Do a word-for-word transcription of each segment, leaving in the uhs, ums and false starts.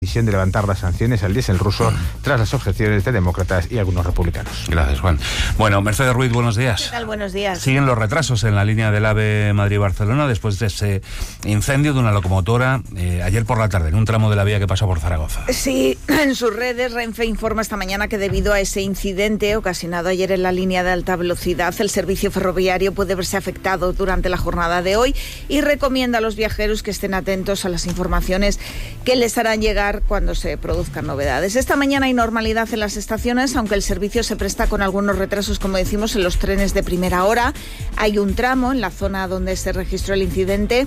decisión de levantar las sanciones al diésel ruso tras las objeciones de demócratas y algunos republicanos. Gracias, Juan. Bueno, Mercedes Ruiz, buenos días. ¿Qué tal? Buenos días. Siguen los retrasos en la línea del AVE Madrid-Barcelona después de ese incendio de una locomotora eh, ayer por la tarde en un tramo de la vía que pasa por Zaragoza. Sí, en sus redes Renfe informa esta mañana que debido a ese incidente ocasionado ayer en la línea de alta velocidad, el servicio ferroviario puede verse afectado durante la jornada de hoy y recomienda a los viajeros que estén atentos a las informaciones que les harán llegar cuando se produzcan novedades. Esta mañana hay normalidad en las estaciones, aunque el servicio se presta con algunos retrasos, como decimos, en los trenes de primera hora. Hay un tramo en la zona donde se registró el incidente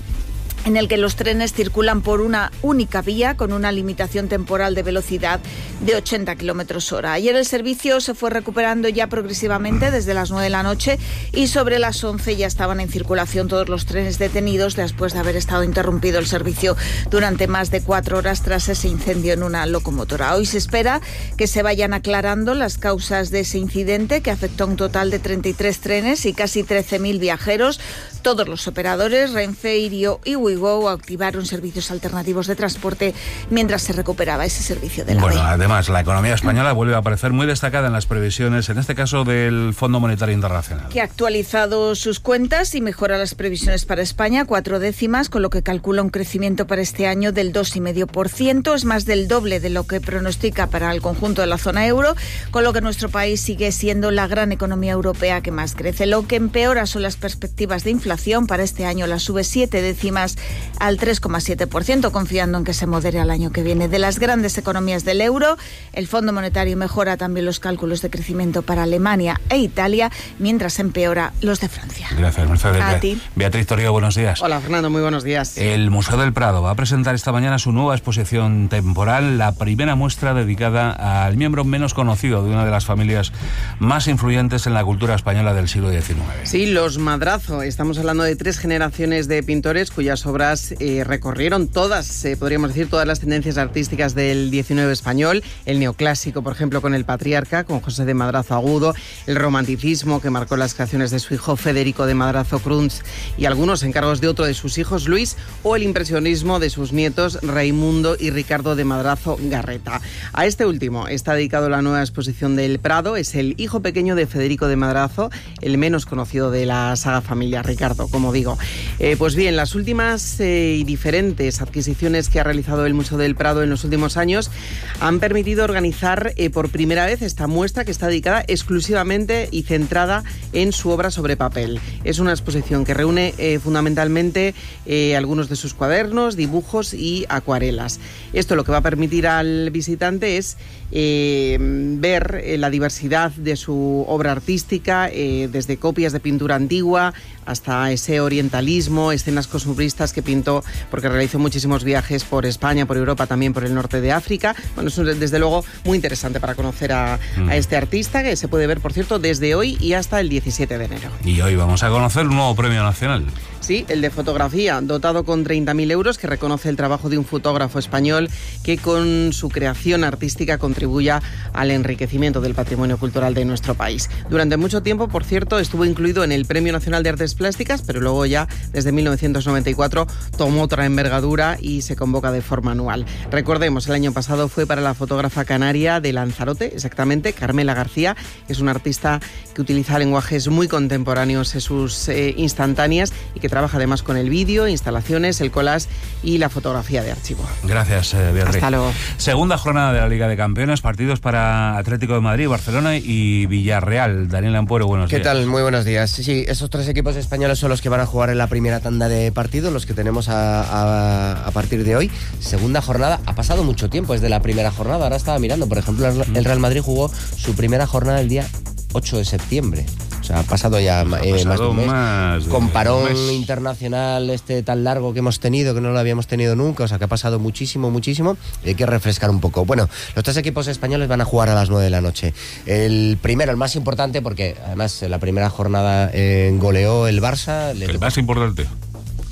en el que los trenes circulan por una única vía con una limitación temporal de velocidad de ochenta kilómetros hora. Ayer el servicio se fue recuperando ya progresivamente desde las nueve de la noche y sobre las once ya estaban en circulación todos los trenes detenidos después de haber estado interrumpido el servicio durante más de cuatro horas tras ese incendio en una locomotora. Hoy se espera que se vayan aclarando las causas de ese incidente que afectó a un total de treinta y tres trenes y casi trece mil viajeros. Todos los operadores, Renfe, Irio y Wigo, activaron servicios alternativos de transporte mientras se recuperaba ese servicio de la Bueno, A V E. Además, la economía española vuelve a aparecer muy destacada en las previsiones, en este caso del Fondo Monetario Internacional. Que ha actualizado sus cuentas y mejora las previsiones para España, cuatro décimas, con lo que calcula un crecimiento para este año del dos coma cinco por ciento. Es más del doble de lo que pronostica para el conjunto de la zona euro, con lo que nuestro país sigue siendo la gran economía europea que más crece. Lo que empeora son las perspectivas de inflación. Para este año la sube siete décimas al tres coma siete por ciento, confiando en que se modere al año que viene. De las grandes economías del euro, el Fondo Monetario mejora también los cálculos de crecimiento para Alemania e Italia, mientras empeora los de Francia. Gracias, Mercedes. A ti. Beatriz Torrio, buenos días. Hola, Fernando, muy buenos días. El Museo del Prado va a presentar esta mañana su nueva exposición temporal, la primera muestra dedicada al miembro menos conocido de una de las familias más influyentes en la cultura española del siglo diecinueve. Sí, los Madrazo. Estamos hablando de tres generaciones de pintores cuyas obras eh, recorrieron todas, eh, podríamos decir, todas las tendencias artísticas del diecinueve español. El neoclásico, por ejemplo, con El Patriarca, con José de Madrazo Agudo, el romanticismo, que marcó las creaciones de su hijo Federico de Madrazo Crunz y algunos encargos de otro de sus hijos, Luis, o el impresionismo de sus nietos Raimundo y Ricardo de Madrazo Garreta. A este último está dedicado la nueva exposición del Prado. Es el hijo pequeño de Federico de Madrazo, el menos conocido de la saga familiar, Ricardo, como digo. Eh, pues bien, las últimas eh, y diferentes adquisiciones que ha realizado el Museo del Prado en los últimos años han permitido organizar eh, por primera vez esta muestra que está dedicada exclusivamente y centrada en su obra sobre papel. Es una exposición que reúne eh, fundamentalmente eh, algunos de sus cuadernos, dibujos y acuarelas. Esto lo que va a permitir al visitante es eh, ver eh, la diversidad de su obra artística, eh, desde copias de pintura antigua hasta ese orientalismo, escenas costumbristas que pintó porque realizó muchísimos viajes por España, por Europa, también por el norte de África. Bueno, es desde luego muy interesante para conocer a, mm. a este artista, que se puede ver, por cierto, desde hoy y hasta el diecisiete de enero. Y hoy vamos a conocer un nuevo premio nacional. Sí, el de fotografía, dotado con treinta mil euros, que reconoce el trabajo de un fotógrafo español que con su creación artística contribuya al enriquecimiento del patrimonio cultural de nuestro país. Durante mucho tiempo, por cierto, estuvo incluido en el Premio Nacional de Artes Plásticas, pero luego ya, desde mil novecientos noventa y cuatro, tomó otra envergadura y se convoca de forma anual. Recordemos, el año pasado fue para la fotógrafa canaria de Lanzarote, exactamente, Carmela García, que es una artista que utiliza lenguajes muy contemporáneos en sus eh, instantáneas y que trabaja además con el vídeo, instalaciones, el collage y la fotografía de archivo. Gracias, eh, Beatriz. Hasta luego. Segunda jornada de la Liga de Campeones, partidos para Atlético de Madrid, Barcelona y Villarreal. Daniel Ampuero, buenos ¿Qué días. ¿Qué tal? Muy buenos días. Sí, esos tres equipos españoles son los que van a jugar en la primera tanda de partidos, los que tenemos a, a, a partir de hoy. Segunda jornada, ha pasado mucho tiempo desde la primera jornada, ahora estaba mirando, por ejemplo, el Real Madrid jugó su primera jornada el día ocho de septiembre. O sea, ha pasado ya ha pasado eh, más de un mes. Más de Con parón mes. internacional este tan largo que hemos tenido, que no lo habíamos tenido nunca, o sea que ha pasado muchísimo, muchísimo, y hay que refrescar un poco. Bueno, los tres equipos españoles van a jugar a las nueve de la noche. El primero, el más importante, porque además en la primera jornada eh, goleó el Barça. El tocó... más importante.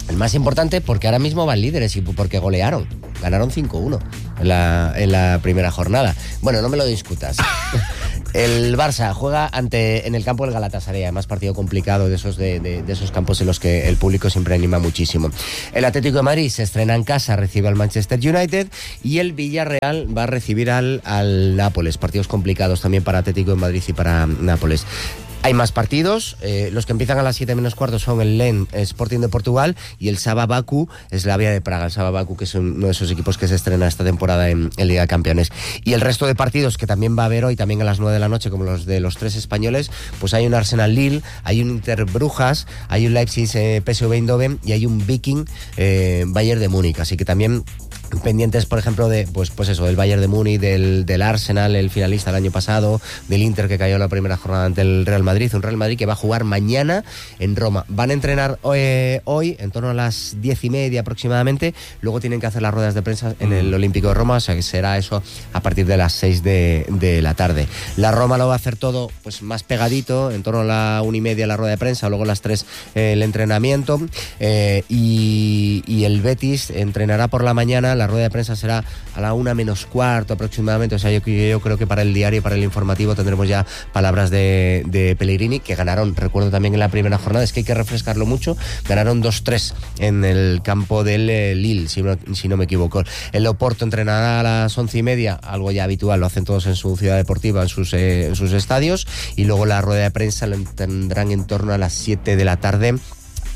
El más importante porque ahora mismo van líderes y porque golearon. Ganaron cinco uno en la, en la primera jornada. Bueno, no me lo discutas. El Barça juega ante en el campo del Galatasaray, además partido complicado de esos, de, de, de esos campos en los que el público siempre anima muchísimo. El Atlético de Madrid se estrena en casa, recibe al Manchester United, y el Villarreal va a recibir al, al Nápoles. Partidos complicados también para Atlético de Madrid y para Nápoles. Hay más partidos, eh, los que empiezan a las siete menos cuarto son el Lens Sporting de Portugal y el Saba Baku Slavia de Praga. El Saba Baku, que es uno de esos equipos que se estrena esta temporada en, en Liga de Campeones. Y el resto de partidos que también va a haber hoy, también a las nueve de la noche, como los de los tres españoles, pues hay un Arsenal Lille, hay un Inter Brujas, hay un Leipzig eh, P S V Eindhoven y hay un Viking eh, Bayern de Múnich. Así que también pendientes, por ejemplo, de pues pues eso, del Bayern de Múnich, del, del Arsenal, el finalista el año pasado, del Inter, que cayó en la primera jornada ante el Real Madrid, un Real Madrid que va a jugar mañana en Roma. Van a entrenar hoy, hoy en torno a las diez y media aproximadamente, luego tienen que hacer las ruedas de prensa en el Olímpico de Roma, o sea que será eso a partir de las seis de, de la tarde. La Roma lo va a hacer todo pues más pegadito, en torno a la una y media la rueda de prensa, luego a las tres eh, el entrenamiento, eh, y, y el Betis entrenará por la mañana. La rueda de prensa será a la una menos cuarto aproximadamente, o sea, yo, yo creo que para el diario y para el informativo tendremos ya palabras de, de Pellegrini, que ganaron, recuerdo también en la primera jornada, es que hay que refrescarlo mucho, ganaron dos tres en el campo del eh, Lille, si no, si no me equivoco. El Oporto entrenará a las once y media, algo ya habitual, lo hacen todos en su ciudad deportiva, en sus, eh, en sus estadios, y luego la rueda de prensa lo tendrán en torno a las siete de la tarde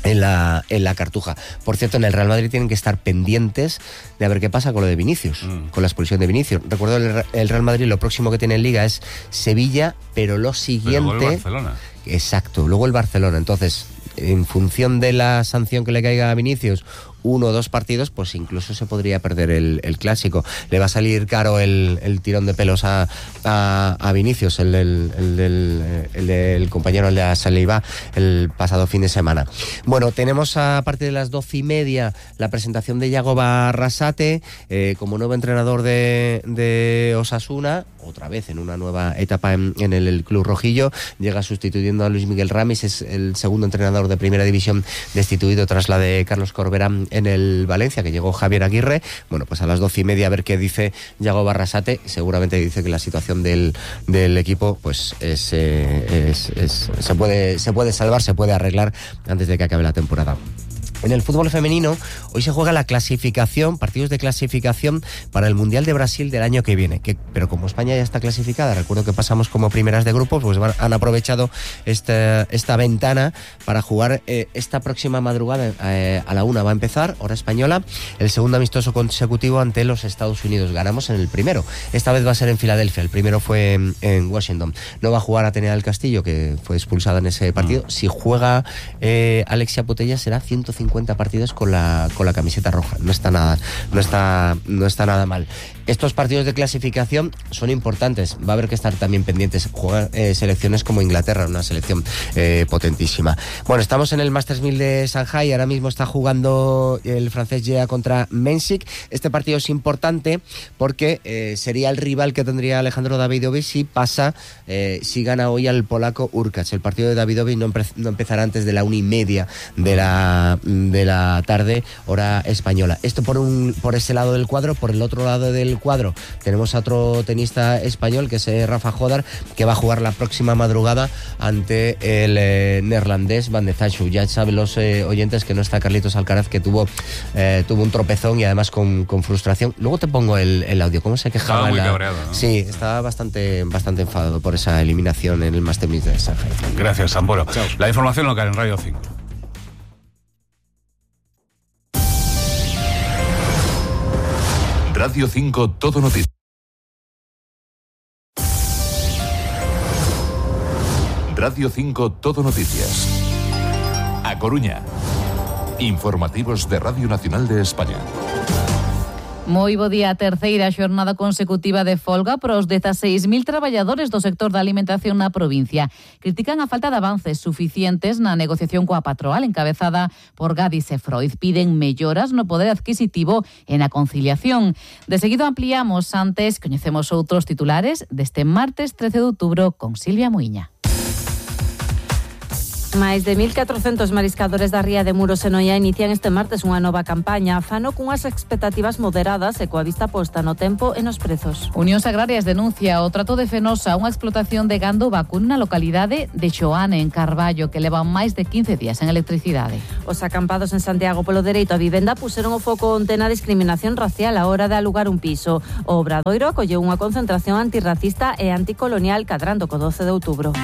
en la, en la Cartuja. Por cierto, en el Real Madrid tienen que estar pendientes de a ver qué pasa con lo de Vinicius, mm. con la expulsión de Vinicius. Recuerdo, el, el Real Madrid lo próximo que tiene en Liga es Sevilla, pero lo siguiente... Pero luego el Barcelona. Exacto, luego el Barcelona. Entonces, en función de la sanción que le caiga a Vinicius, uno o dos partidos, pues incluso se podría perder el, el clásico. Le va a salir caro el, el tirón de pelos a, a, a Vinicius, el del el, el, el, el compañero el de Saliba, el pasado fin de semana. Bueno, tenemos a partir de las doce y media la presentación de Yago Barrasate eh, como nuevo entrenador de, de Osasuna, otra vez en una nueva etapa en, en el, el club rojillo. Llega sustituyendo a Luis Miguel Ramis, es el segundo entrenador de primera división destituido tras la de Carlos Corbera en el Valencia, que llegó Javier Aguirre. Bueno, pues a las doce y media a ver qué dice Yago Barrasate. Seguramente dice que la situación del, del equipo pues es, eh, es, es se puede se puede salvar, se puede arreglar antes de que acabe la temporada. En el fútbol femenino, hoy se juega la clasificación, partidos de clasificación para el Mundial de Brasil del año que viene. Que, pero como España ya está clasificada, recuerdo que pasamos como primeras de grupos, pues van, han aprovechado esta, esta ventana para jugar eh, esta próxima madrugada eh, a la una. Va a empezar, hora española, el segundo amistoso consecutivo ante los Estados Unidos. Ganamos en el primero. Esta vez va a ser en Filadelfia. El primero fue en, en Washington. No va a jugar Atenea del Castillo, que fue expulsada en ese partido. Mm. Si juega eh, Alexia Putellas, será ciento cincuenta partidos con la con la camiseta roja. No está nada, no está, no está nada mal. Estos partidos de clasificación son importantes. Va a haber que estar también pendientes. Juegan eh, selecciones como Inglaterra, una selección eh, potentísima. Bueno, estamos en el Masters mil de Shanghai. Ahora mismo está jugando el francés Gea contra Mensik. Este partido es importante porque eh, sería el rival que tendría Alejandro Davidovich si pasa, eh, si gana hoy al polaco Urkacz. El partido de Davidovich no, empe- no empezará antes de la una y media de la de la tarde, hora española. Esto por un por ese lado del cuadro. Por el otro lado del cuadro tenemos a otro tenista español, que es eh, Rafa Jodar, que va a jugar la próxima madrugada ante el eh, neerlandés Van de Zandt. Ya saben los eh, oyentes que no está Carlitos Alcaraz, que tuvo eh, tuvo un tropezón y además con, con frustración. Luego te pongo el, el audio, cómo se quejaba. Estaba muy la... cabreado, ¿no? Sí, estaba bastante bastante enfadado por esa eliminación en el Masters mil de Shanghai. Gracias, Samboro. Chao. La información local en Radio cinco. Radio cinco, Todo Noticias. Radio cinco, Todo Noticias. A Coruña. Informativos de Radio Nacional de España. Moi bo día. A terceira xornada consecutiva de folga para os dezaseis mil traballadores do sector da alimentación na provincia. Critican a falta de avances suficientes na negociación coa patronal encabezada por Gadis e Freud. Piden melloras no poder adquisitivo e na conciliación. De seguido ampliamos, antes coñecemos outros titulares deste martes trece de outubro con Silvia Muiña. Máis de mil catrocentos mariscadores da ría de Muros e Noia inician este martes unha nova campaña. Fano cunhas expectativas moderadas e coa vista posta no tempo e nos prezos. Unións Agrarias denuncia o trato de Fenosa, unha explotación de gando vacuno na localidade de Xoane, en Carballo, que levan máis de quince días en electricidade. Os acampados en Santiago polo dereito a vivenda puseron o foco onte na discriminación racial a hora de alugar un piso. O Obradoiro acolleu unha concentración antirracista e anticolonial cadrando co doce de outubro.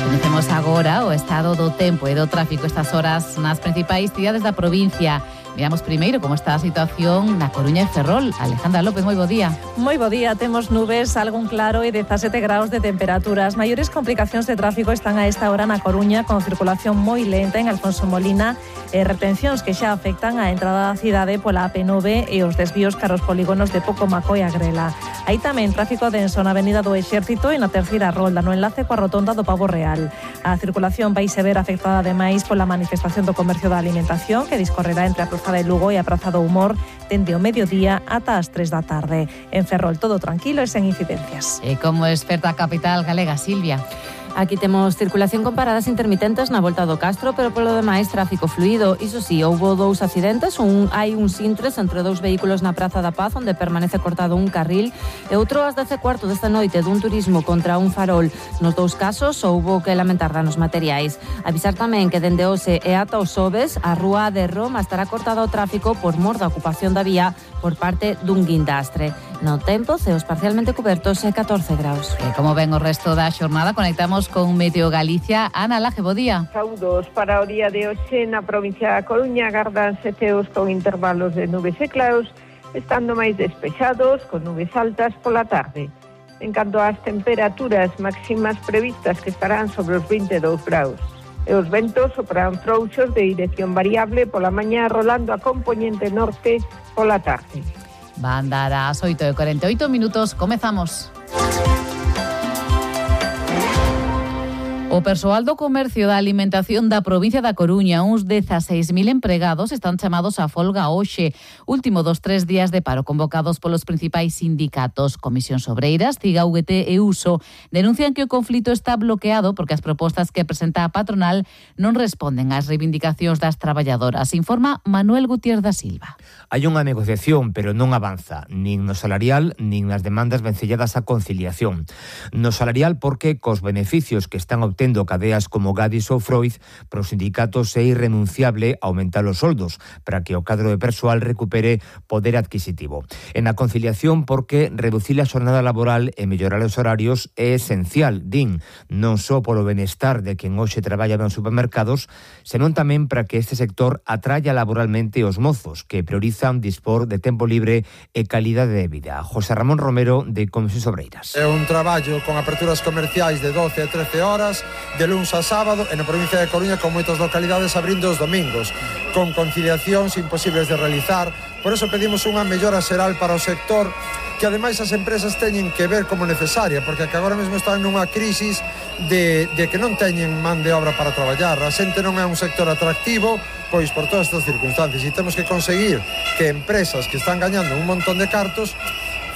Conhecemos agora o estado do tempo e do tráfico estas horas nas principais cidades da provincia. Miramos primeiro como está a situación na Coruña e Ferrol. Alejandra López, moi bo día. Moi bo día, temos nubes, algún claro e dezasete graus de temperatura. As maiores complicacións de tráfico están a esta hora na Coruña, con circulación moi lenta en Alfonso Molina e retencións que xa afectan a entrada da cidade pola A P nove e os desvíos caros polígonos de Pocomaco e Agrela. Hai tamén tráfico denso na Avenida do Exército e na terceira rolda, no enlace coa rotonda do Pavo Real. A circulación vai se ver afectada ademais pola manifestación do comercio da alimentación que discorrerá entre a Praza de Lugo e a Praza do Humor dende o mediodía ata as tres da tarde. En Ferrol todo tranquilo e sen incidencias. E como experta capital galega, Silvia. Aquí temos circulación con paradas intermitentes na volta do Castro, pero polo demais tráfico fluido. Iso sí, houbo dous accidentes, un hai un sintres entre dous vehículos na Praza da Paz, onde permanece cortado un carril, e outro ás dez e cuarto desta noite dun turismo contra un farol. Nos dous casos houbo que lamentar danos materiais. Avisar tamén que dende hoxe e ata os xoves a rúa de Roma estará cortada ao tráfico por mor da ocupación da vía por parte dun guindastre. No tempo, ceos parcialmente cobertos e catorce graus. E como ven o resto da xornada, conectamos con Meteo Galicia. Ana Laje, bo día. Saúdos para o día de hoxe na provincia da Coruña, gardanse ceos con intervalos de nubes e claros, estando máis despexados, con nubes altas pola tarde. En canto ás temperaturas máximas previstas, que estarán sobre os vinte e dous graus. E os ventos soprarán frouxos de dirección variable pola mañá, rolando a compoñente norte pola tarde. Van dar as oito e cuarenta e oito minutos. Comezamos. O persoal do comercio da alimentación da provincia da Coruña, uns dezaseis mil empregados, están chamados a folga hoxe, último dos tres días de paro convocados polos principais sindicatos. Comisións Obreiras, CIGA, U G T e Uso denuncian que o conflito está bloqueado porque as propostas que presenta a patronal non responden ás reivindicacións das traballadoras, informa Manuel Gutiérrez da Silva. Hai unha negociación, pero non avanza, nin no salarial, nin nas demandas vencelladas á conciliación. No salarial porque cos beneficios que están obtendo cadeas como Gadis ou Freud, para os sindicatos é irrenunciable aumentar os soldos para que o cadro de persoal recupere poder adquisitivo. En a conciliación porque reducir a xornada laboral e mellorar os horarios é esencial, din, non só polo benestar de quen hoxe traballa nos supermercados, senón tamén para que este sector atraia laboralmente os mozos, que priorizan dispor de tempo libre e calidade de vida. José Ramón Romero, de Comisións Obreiras. É un traballo con aperturas comerciais de doce a trece horas, de luns a sábado, e na provincia de Coruña con moitas localidades abrindo os domingos, con conciliacións imposibles de realizar. Por eso pedimos unha mellora xeral para o sector, que ademais as empresas teñen que ver como necesaria, porque que agora mesmo están nunha crisis de, de que non teñen man de obra para traballar. A xente non é un sector atractivo, pois por todas estas circunstancias, e temos que conseguir que empresas que están gañando un montón de cartos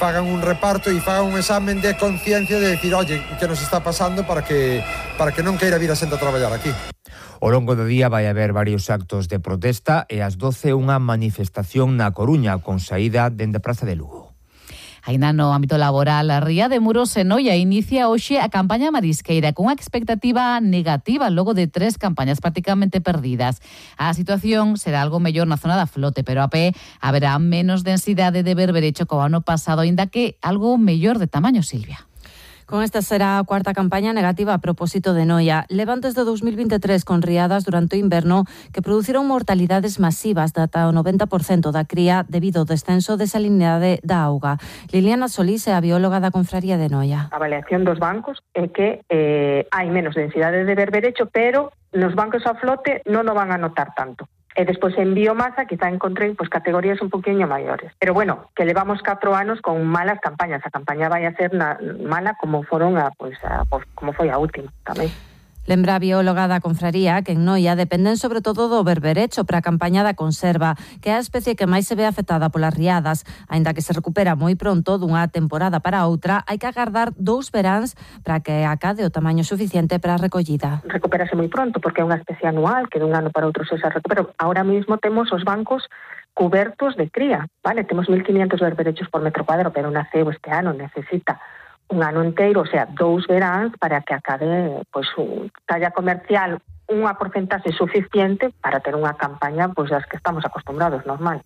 fagan un reparto e fagan un examen de conciencia de decir, oye, que nos está pasando para que para que non queira vir a xente a traballar aquí. Ao longo do día vai haber varios actos de protesta e ás doce unha manifestación na Coruña con saída dende a Praza de Lugo. Aínda no ámbito laboral, a Ría de Muros e Noia inicia hoxe a campaña marisqueira con unha expectativa negativa logo de tres campañas prácticamente perdidas. A situación será algo mellor na zona da flote, pero a pé haberá menos densidade de berberecho co ano pasado, aínda que algo mellor de tamaño, Silvia. Con esta será a cuarta campaña negativa a propósito de Noia. Levan desde dous mil vinte e tres con riadas durante o inverno que produciron mortalidades masivas de ata o noventa por cento da cría debido ao descenso de salinidade da auga. Liliana Solís é a bióloga da Confraría de Noia. A avaliación dos bancos é que eh, hai menos densidade de berberecho, pero nos bancos a flote non o van a notar tanto. E despois en biomasa quizá encontrei pues, categorías un poquinho maiores. Pero bueno, que levamos catro anos con malas campañas. A campaña vai a ser na, mala como foron a, pues, a, pues, como foi a última tamén. Lembra a bióloga da confraría que en Noia dependen sobre todo do berberecho para a campaña da conserva, que é a especie que máis se ve afectada polas riadas. Aínda que se recupera moi pronto dunha temporada para outra, hai que agardar dous veráns para que acade o tamaño suficiente para a recollida. Recupérase moi pronto porque é unha especie anual que dun ano para outro se se recupera. Ahora mismo temos os bancos cubertos de cría, vale? Temos mil quinientos berberechos por metro cuadrado, pero naceu este ano, necesita un ano inteiro, o sea, dous veráns para que acabe pois un talla comercial unha porcentaxe suficiente para ter unha campaña pois das que estamos acostumbrados, normal.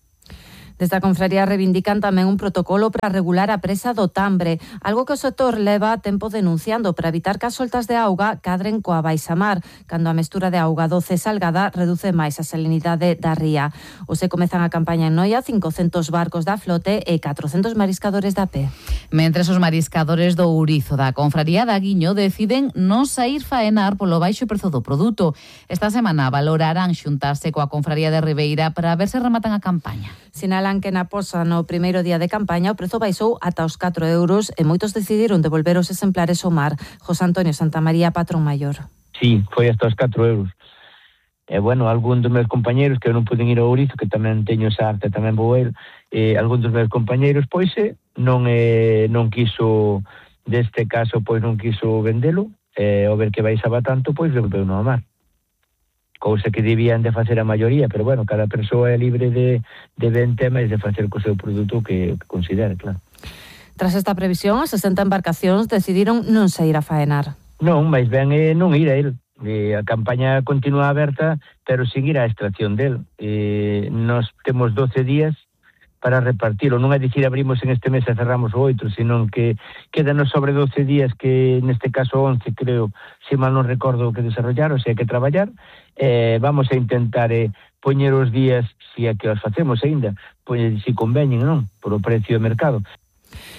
Desde a confraría reivindican tamén un protocolo para regular a presa do Tambre, algo que o sector leva tempo denunciando para evitar que as soltas de auga cadren coa baixamar, cando a mestura de auga doce salgada reduce máis a salinidade da ría. Hoxe comezan a campaña en Noia cincocentos barcos da flote e catrocentos mariscadores da pé. Mentres os mariscadores do Ourizo da confraría da Guiño deciden non saír faenar polo baixo prezo do produto. Esta semana valorarán xuntarse coa confraría de Ribeira para ver se rematan a campaña. Sinalan que na Posa no primeiro día de campaña o prezo baixou ata os catro euros e moitos decidiron devolver os exemplares ao mar. José Antonio Santamaría, patrón maior. Sí, foi hasta os catro euros. E, bueno, algún dos meus compañeiros que non puden ir ao Ourizo, que tamén teño esa arte, tamén vou ir, eh, algún dos meus compañeiros, pois, eh, non, eh, non quiso, deste caso, pois non quiso vendelo, e eh, ao ver que baixaba tanto, pois devolveu no mar. Cousa que debían de facer a maioría, pero bueno, cada persoa é libre de, de ver temas e de facer co seu produto que, que considere, claro. Tras esta previsión, as sesenta embarcacións decidiron non sair a faenar. Non, máis ben é non ir a el. E a campaña continúa aberta, pero sin ir á extracción del. E nos temos doce días para repartilo. Non é dicir abrimos en este mes e cerramos o oito, senón que quedanos sobre doce días, que neste caso once, creo, se mal non recordo, que desarrollar, ou sea, que traballar. Eh, vamos a intentar eh, poñer os días, se é que os facemos aínda, pois se conveñen, non? Por o precio de mercado.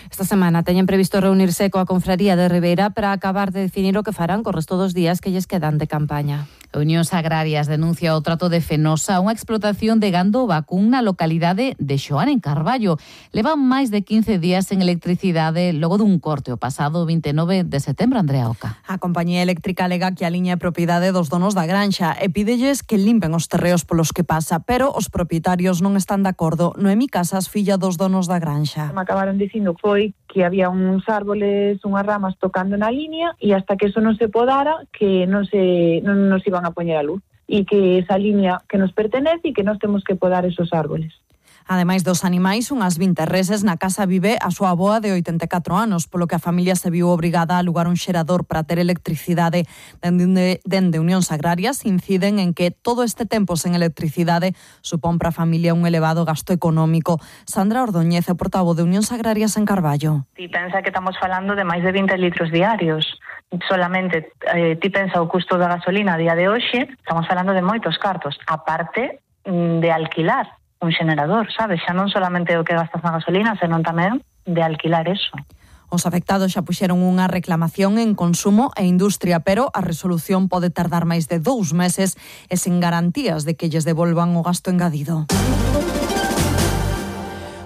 Esta semana teñen previsto reunirse coa confraría de Ribeira para acabar de definir o que farán co resto dos días que lles quedan de campaña. Unións Agrarias denuncia o trato de Fenosa, unha explotación de gando vacún na localidade de Xoán, en Carballo. Levan máis de quince días sen electricidade logo dun corte o pasado vinte e nove de setembro, Andrea Oca. A compañía eléctrica alega que a liña é propiedade dos donos da granxa e pídelles que limpen os terreos polos que pasa, pero os propietarios non están de acordo. Noemí Casas, filla dos donos da granxa. Me acabaron dicindo foi que había uns árboles, unhas ramas tocando na liña e hasta que eso non se podara, que non se non nos iban a poñer a luz e que esa liña que nos pertenece e que nós temos que podar esos árboles. Ademais dos animais, unhas vinte reses, na casa vive a súa avoa de oitenta e catro anos, polo que a familia se viu obrigada a alugar un xerador para ter electricidade. Dende, dende Unións Agrarias inciden en que todo este tempo sen electricidade supón para a familia un elevado gasto económico. Sandra Ordóñez é portavoz de Unións Agrarias en Carballo. Ti pensa que estamos falando de máis de vinte litros diarios. Solamente eh, ti pensa o custo da gasolina a día de hoxe, estamos falando de moitos cartos, aparte de alquilar un xenerador, sabes? Xa non solamente o que gastas na gasolina, senón tamén de alquilar eso. Os afectados xa puxeron unha reclamación en Consumo e Industria, pero a resolución pode tardar máis de dous meses e sen garantías de que lles devolvan o gasto engadido.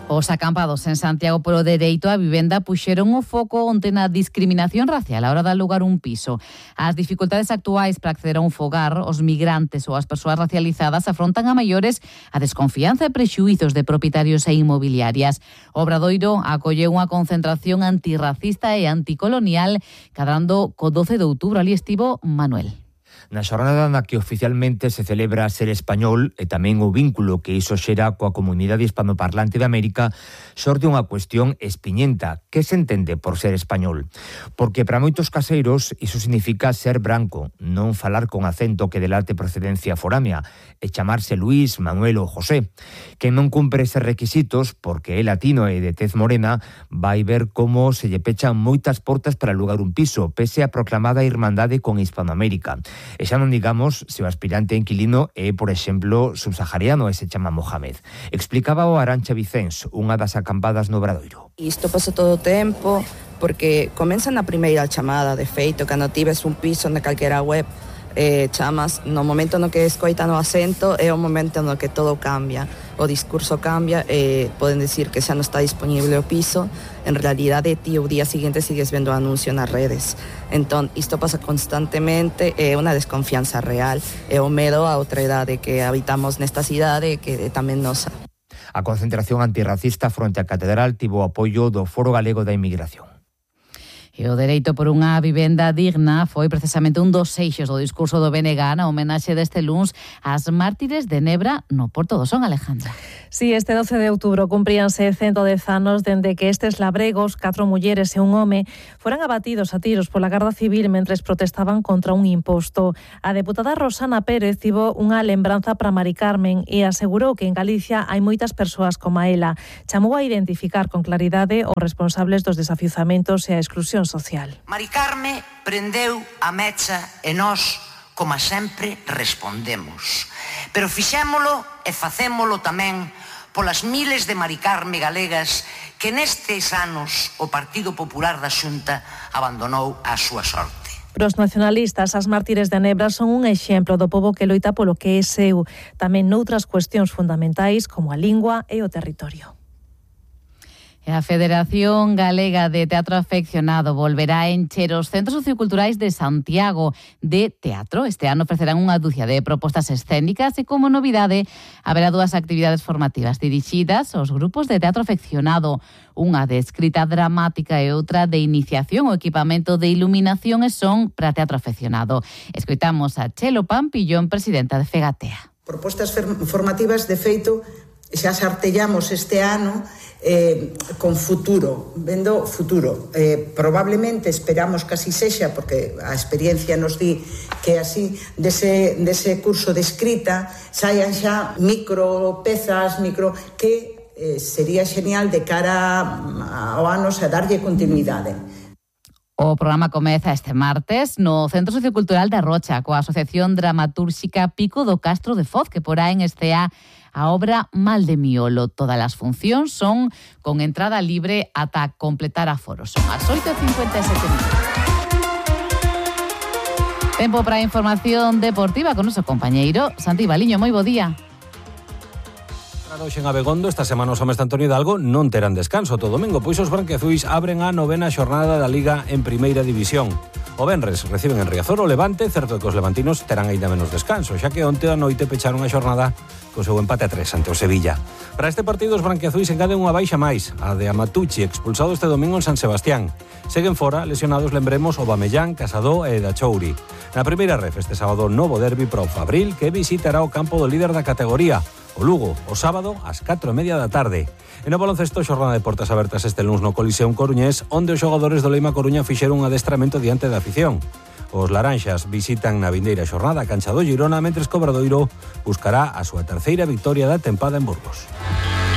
Os acampados en Santiago polo dereito á vivenda puxeron o foco onte na discriminación racial a hora de alugar un piso. As dificultades actuais para acceder a un fogar, os migrantes ou as persoas racializadas afrontan a maiores a desconfianza e prexuizos de propietarios e inmobiliarias. O Obradoiro acolleu unha concentración antirracista e anticolonial cadrando co doce de outubro. Ali estivo Manuel. Na xornada na que oficialmente se celebra Ser Español e tamén o vínculo que iso xera coa comunidade hispanoparlante de América, xorde unha cuestión espiñenta. Que se entende por ser español? Porque para moitos caseiros iso significa ser branco, non falar con acento que delate procedencia foránea e chamarse Luís, Manuel ou José. Quen non cumpre eses requisitos, porque é latino e de tez morena, vai ver como se lle pechan moitas portas para alugar un piso, pese a proclamada irmandade con Hispanoamérica. E xa non digamos se o aspirante inquilino é, por exemplo, subsahariano e se chama Mohamed. Explicaba o Arancha Vicens, unha das acampadas no Obradoiro. Isto pasa todo o tempo, porque comeza na primeira chamada, de feito, cando tives un piso na calquera web, eh, chamas, no momento no que escoitan o acento é o momento no que todo cambia, o discurso cambia, eh, poden decir que xa non está disponible o piso, en realidade ti o día seguinte sigues vendo o anuncio nas redes. Entón, isto pasa constantemente, é unha desconfianza real, é o medo a outra idade que habitamos nesta cidade que é tamén nosa. A concentración antirracista fronte á Catedral tivo o apoio do Foro Galego da Inmigración. E o dereito por unha vivenda digna foi precisamente un dos eixos do discurso do B N G na homenaxe deste luns ás mártires de Nebra no Porto do Son, Alejandra. Sí, este doce de outubro cumpríanse ciento dez anos dende que estes labregos, catro mulleres e un home, foran abatidos a tiros pola Garda Civil mentres protestaban contra un imposto. A deputada Rosana Pérez tivo unha lembranza para Mari Carmen e asegurou que en Galicia hai moitas persoas como ela. Chamou a identificar con claridade os responsables dos desafiuzamentos e a exclusión social. Mari Carme prendeu a mecha e nós, como sempre, respondemos. Pero fixémolo e facémolo tamén polas miles de Mari Carme galegas que nestes anos o Partido Popular da Xunta abandonou a súa sorte. Para os nacionalistas, as mártires de Nebra son un exemplo do pobo que loita polo que é seu, tamén noutras cuestións fundamentais como a lingua e o territorio. A Federación Galega de Teatro Afeccionado volverá a encher os centros socioculturais de Santiago de teatro. Este ano ofrecerán unha dúcia de propostas escénicas e, como novidade, haberá dúas actividades formativas dirixidas aos grupos de teatro afeccionado, unha de escrita dramática e outra de iniciación ao equipamento de iluminación e son para teatro afeccionado. Escoitamos a Chelo Pampillón, presidenta de Fegatea. Propostas formativas, de feito, xa sartellamos este ano eh, con futuro, vendo futuro. Eh, probablemente esperamos que así sexa, porque a experiencia nos di que así dese, dese curso de escrita saian xa micro pezas, micro que eh, sería xenial de cara ao ano a darlle continuidade. O programa comeza este martes no Centro Sociocultural da Rocha coa Asociación Dramatúrxica Pico do Castro de Foz, que porá en escea a obra Mal de Miolo. Todas as funcións son con entrada libre ata completar aforos. Son as oito e cincuenta e sete minutos. Tempo para a información deportiva con noso compañeiro Santi Baliño. Moi bo día. Hoxe en Abegondo, esta semana os homes de Antonio Hidalgo non terán descanso todo domingo, pois os branquiazuis abren a novena xornada da Liga en Primeira División. O venres reciben en Riazor o Levante, certo que os levantinos terán aínda menos descanso, xa que onte a noite pecharon a xornada co seu empate a tres ante o Sevilla. Para este partido os branquiazuis engaden unha baixa máis, a de Amatucci, expulsado este domingo en San Sebastián. Seguen fora lesionados, lembremos, o Bamellán, Casado e Dachouri. Na primeira ref este sábado novo derbi para o Fabril, que visitará o campo do líder da categoría, o Lugo, o sábado ás catro e media da tarde. E no baloncesto, xornada de portas abertas este luns no Coliseum Coruñés, onde os xogadores do Leima Coruña fixeron un adestramento diante da afición. Os laranxas visitan na vindeira xornada a cancha do Girona, mentres que o Obradoiro buscará a súa terceira victoria da tempada en Burgos.